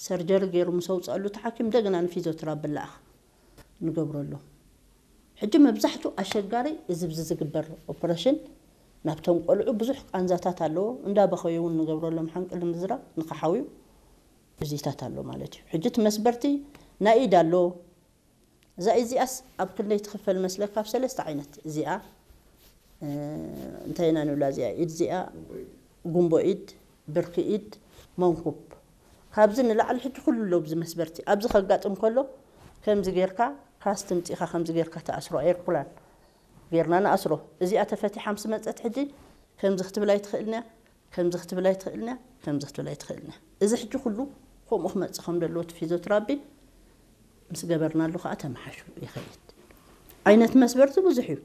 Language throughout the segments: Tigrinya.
ሰርጀሪ ገይሩ ምስ ኣውፅኣሉ እቲ ሓኪም እንደገና ንፊዚዮትራፒ ብላኣኽ ንገብረሎም። ሕጂ መብዛሕቱ ኣሸጋሪ እዚ ብዚ ዝግበር ኦፕሬሽን ናብቶም ቆልዑ ብዙሕ ቃንዛታት ኣለዎ። እንዳበኸዩ እውን ንገብረሎም ሓንቅል ምዝራብ ንክሓውዩ እዚታት ኣሎ ማለት እዩ። ሕጂ እቲ መስበርቲ ናይ ኢድ ኣሎ። እዛ ኢድ እዚኣስ ኣብ ክንደይ ትኽፈል መስለካ? ኣብ ሰለስተ ዓይነት። እዚኣ እንታይ ኢና ንብላ? እዚኣ ኢድ እዚኣ ጉንቦ ኢድ፣ ብርኪ ኢድ፣ መንኩብ። ካብዚ ንላዕሊ ሕጂ ኩሉ ኣሎ ብዚ መስበርቲ። ኣብዚ ከጋጥም ከሎ ከምዚ ጌርካ ካስት ምፂኻ ከምዚ ጌርካ ተኣስሮ። ኤርኩላን ጌርና ንኣስሮ። እዚኣ ተፈቲሓ ምስ መፀት ሕጂ ከምዚ ክትብል ኣይትኽእልን እያ፣ ከምዚ ክትብል ኣይትኽእልን እያ፣ ከምዚ ክትብል ኣይትኽእልን እያ። እዚ ሕጂ ኩሉ ከምኡ ክመፅእ ከም ዘለዎ እቲ ፊዚዮትራፒ ምስ ገበርናሉ ከዓ ተመሓሹ ይኸይድ። ዓይነት መስበርቲ ብዙሕ እዩ።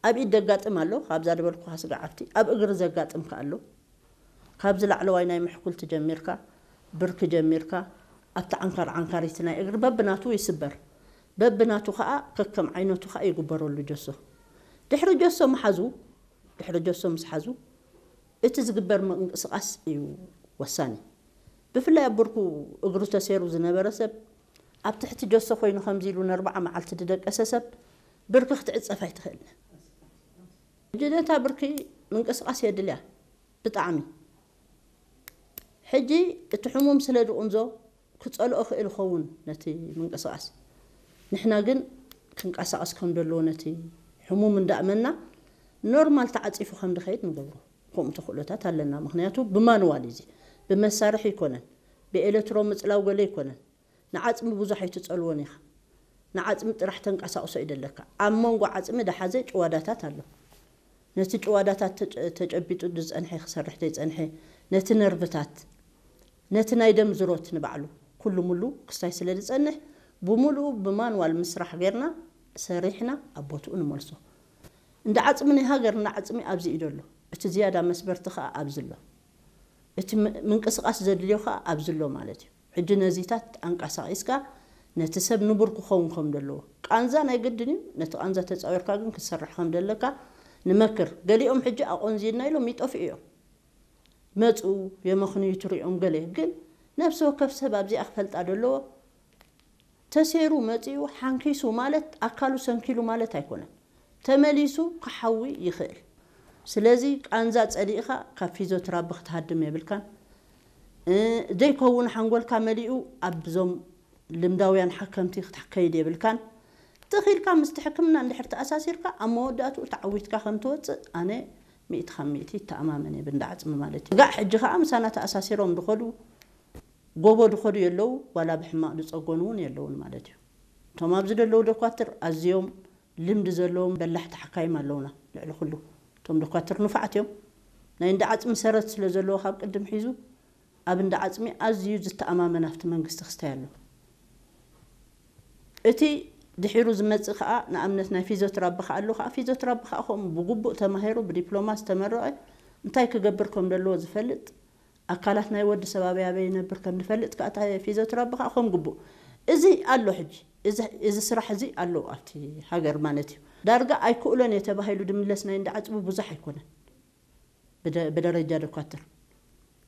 ኣብ ኢድ ዘጋጥም ኣሎ፣ ካብዛ ዝበልኩኻ ስጋዕ ኣብቲ ኣብ እግሪ ዘጋጥም ከኣ ኣሎ። ካብዚ ላዕለዋይ ናይ ምሕኩልቲ ጀሚርካ፣ ብርኪ ጀሚርካ፣ ኣብቲ ዓንካር ዓንካሪቲ ናይ እግሪ በብናቱ ይስበር። በብናቱ ከኣ ከከም ዓይነቱ ከኣ ይግበረሉ ጀሶ። ድሕሪ ጀሶ ምሓዙ፣ ድሕሪ ጀሶ ምስ ሓዙ እቲ ዝግበር ምንቅስቃስ እዩ ወሳኒ። ብፍላይ ኣብ ብርኩ እግሩ ተሰይሩ ዝነበረ ሰብ ኣብ ትሕቲ ጀሶ ኮይኑ ከምዚ ኢሉ ንኣርባዓ መዓልቲ ዝደቀሰ ሰብ ብርኪ ክትዕጸፍ ኣይትኽእልን። ሕጂ ነታ ብርኪ ምንቅስቃስ የድልያ ብጣዕሚ። ሕጂ እቲ ሕሙም ስለ ዝቕንዞ ክጸልኦ ክእል ይኸውን ነቲ ምንቅስቃስ። ንሕና ግን ክንቀሳቐስ ከም ዘለዎ ነቲ ሕሙም እንዳእመና ኖርማል ተዓጺፉ ከም ዝኸይድ ንገብሮ። ከምኡ ተኽእሎታት ኣለና። ምኽንያቱ ብማንዋል እዩ እዚ። ብመሳርሒ ኣይኮነን። ብኤሌክትሮ ምጽላው ገለ ኣይኮነን። ንዓጽሚ ብዙሕ ኣይትጸልዎን ኢኻ። ንዓጽሚ ጥራሕ ተንቀሳቕሶ እዩ ደለካ። ኣብ መንጎ ዓጽሚ ደሓዘ ጭዋዳታት ኣሎ። ነቲ ጭዋዳታት ተጨ-፣ ተጨቢጡ ዝጸንሐ ክሰርሕ ዘይጸንሐ፣ ነቲ ነርቭታት፣ ነቲ ናይ ደም ዝሮት ንባዕሉ ኩሉ ሙሉ ክስታይ ስለ ዝጸንሕ፣ ብምሉኡ ብማንዋል ምስራሕ ጌርና ሰሪሕና ኣብ ቦትኡ ንመልሶ። እንዳ ዓጽሚ ናይ ሃገር እንዳ ዓጽሚ ኣብዚ እዩ ዘሎ። እቲ ዝያዳ መስበርቲ ከኣ ኣብዚ ኣሎ። እቲ ም-፣ ምንቅስቃስ ዘድልዮ ከኣ ኣብዚ ኣሎ ማለት እዩ። ሕጂ ነዚታት ኣንቀሳቒስካ ነቲ ሰብ ንቡር ክኸውን ከም ዘለዎ። ቃንዛ ናይ ግድን እዩ። ነቲ ቃንዛ ተጻዊርካ ግን ክትሰርሕ ከም ዘለካ ንመክር። ገሊኦም ሕጂ ኣቆንዚልና ኢሎም ይጠፍኡ እዮም። መጹ፣ የመኽንዩ ትሪኦም ገለ። ግን ነፍሲ ወከፍ ሰብ ኣብዚኣ ክፈልጣ ዘለዎ። ተሰይሩ መጺኡ ሓንኪሱ ማለት ኣካሉ ሰንኪሉ ማለት ኣይኮነን። ተመሊሱ ክሓዊ ይኽእል። ስለዚ ቃንዛ ጸሊእኻ ካብ ፊዚዮትራፒ ክትሃድም የብልካን። እ፣ ዘይከውን ሓንጎልካ መሊኡ ኣብዞም ልምዳውያን ሓከምቲ ክትከይድ የብልካን። ትኺልካ ምስቲ ሕክምና እንድሕር ተኣሳሲርካ ኣብ መወዳእትኡ ተዓዊትካ ከም ትወጽእ ኣነ ሚእቲ ካብ ሚእቲ ይተኣማመን እየ ብእንዳ ዓጽሚ ማለት እዩ። ጋዕ ሕጂ ከኣ ምሳና ተኣሳሲሮም ዝኸዱ ጎቦ ዝኸዱ የለዉ፣ ዋላ ብሕማቕ ዝጸገኑ እውን የለውን ማለት እዩ። እቶም ኣብዚ ዘለዉ ደኳትር ኣዝዮም ልምዲ ዘለዎም በላሕቲ ሓካይም ኣለዉና። ልዕሊ ኩሉ እቶም ደኳትር ንፉዓት እዮም። ናይ እንዳ ዓጽሚ ሰረት ስለ ዘለዎ ካብ ቅድም ሒዙ ኣብ እንዳ ዓጽሚ ኣዝዩ ዝተኣማመን ኣብቲ መንግስቲ ክስታይ ኣሎ። እቲ ድሒሩ ዝመጽእ ከኣ ንኣብነት ናይ ፊዚዮትራፒ ከኣ ኣሎ። ከኣ ፊዚዮትራፒ ከኣ ከምኡ ብግቡእ ተማሂሩ ብዲፕሎማ ዝተመረቐ እንታይ ክገብር ከም ዘለዎ ዝፈልጥ ኣካላት ናይ ወዲ ሰብ ኣበይ ኣበይ ይነብር ከም ንፈልጥ ከኣ እታ ፊዚዮትራፒ ከኣ ከም ግቡእ እዚ ኣሎ። ሕጂ እዚ፣ እዚ ስራሕ እዚ ኣሎ ኣብቲ ሃገር ማለት እዩ። ዳርጋ ኣይክእሎን እየ ተባሂሉ ድምለስ ናይ እንዳ ዓጽሚ ብዙሕ ኣይኮነን ብደ-፣ ብደረጃ ደኳትር።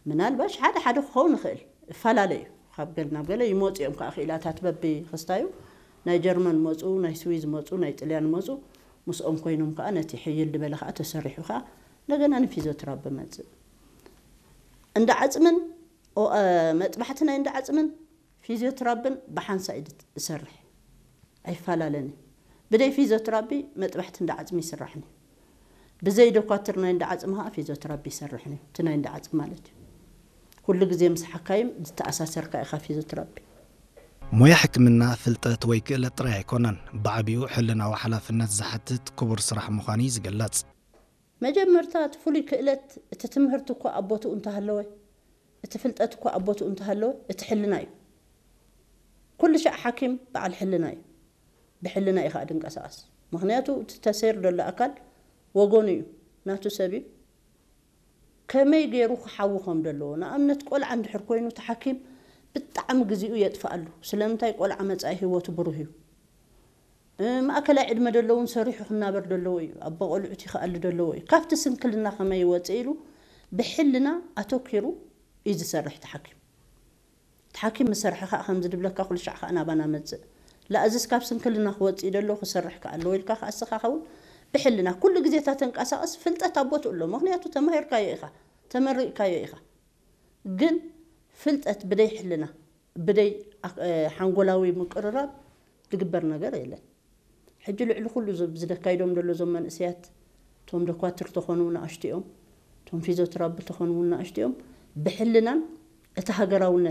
ምናልባሽ ሓደ ሓደ ክኸውን ይኽእል፣ እፈላለ እዩ። ካብ ገል ናብ ገለ ይመፁ እዮም ከዓ ክኢላታት በቢ ክስታዩ ናይ ጀርመን መፁ፣ ናይ ስዊዝ መፁ፣ ናይ ጥልያን መፁ። ምስኦም ኮይኖም ከዓ ነቲ ሕይል ዝበለ ከዓ ተሰሪሑ ከዓ እንደገና ንፊዚዮትራፒ መፅእ። እንዳ ዓፅምን ኦ-፣ እ፣ መጥባሕቲ ናይ እንዳ ዓፅምን ፊዚዮትራፒን ብሓንሳእ እዩ ዝሰርሕ፣ ኣይፈላለን እዩ። ብደይ ፊዚዮትራፒ መጥባሕቲ እንዳ ዓፅሚ ይስራሕን እዩ። ብዘይ ደኳትር ናይ እንዳ ዓፅሚ ከዓ ፊዚዮትራፒ ይሰርሕን እዩ። እቲ ናይ እንዳ ዓፅሚ ማለት እዩ። ኩሉ ግዜ ምስ ሓካይም ዝተኣሳሰርካ ኢኻ ፊዚዮትራፒ። ሞያ ሕክምና ፍልጠት ወይ ክእለት ጥራይ ኣይኮነን፣ ብዓቢኡ ሕልናዊ ሓላፍነት ዝሓትት ክቡር ስራሕ ምዃኑ እዩ ዝግለጽ። መጀመርታ እቲ ፍሉይ ክእለት፣ እቲ ትምህርቲ እኳ ኣብ ቦትኡ እንተሃለወ፣ እቲ ፍልጠት እኳ ኣብ ቦትኡ እንተሃለወ፣ እቲ ሕልና እዩ። ኩሉ ሻዕ ሓኪም በዓል ሕልና እዩ። ብሕልና እዩ ከዓ ድንቀሳቐስ። ምኽንያቱ እቲ ተሰይር ዘሎ ኣካል ወገኑ እዩ፣ ናቱ ሰብ እዩ። ከመይ ገይሩ ክሓዊ ከም ዘለዎ፣ ንኣብነት ቆልዓ እንድሕር ኮይኑ እቲ ሓኪም ብጣዕሚ ግዜኡ የጥፍኣሉ። ስለምንታይ? ቆልዓ መጻኢ ህይወቱ ብሩህ እዩ። እ፣ ማእከላይ ዕድመ ዘለውን ሰሪሑ ክናበር ዘለዎ እዩ። ኣቦ ቆልዑት ይኽኣሉ ዘለዎ እዩ። ካብቲ ስንክልና ከመይ ይወፅእ ኢሉ ብሕልና ኣተኪሩ እዩ ዝሰርሕ እቲ ሓኪም። ሓኪም ምስ ሰርሐ ከዓ ከምዚ ድብለካ ኩሉ ሻዕ ከዓ ናባና መፅእ። ላእዝስ ካብ ስንክልና ክወፅእ ደሎ ክሰርሕ ከዓ ኣለዎ ኢልካ ከዓ እስኻ ኸውን ብሕልና ኩሉ ግዜ እታ ተንቀሳቐስ ፍልጠት ኣብ ቦትኡ ኣሎ። ምኽንያቱ ተማሂርካዮ ኢኻ፣ ተመሪቕካዮ ኢኻ። ግን ፍልጠት ብደይ ሕልና፣ ብደይ ኣክ-፣ እ፣ ሓንጎላዊ ምቅርራብ ዝግበር ነገር የለን። ሕጂ ልዕሊ ኩሉ ዝ-፣ ዝደካይዶም ደሎ እዞም መንእሰያት፣ እቶም ደኳትር ተኾኑ ንኣሽቱ እዮም፣ እቶም ፊዚዮቴራፒ ተኾኑ እውን ንኣሽቱ እዮም። ብሕልናን እቲ ሃገራውነት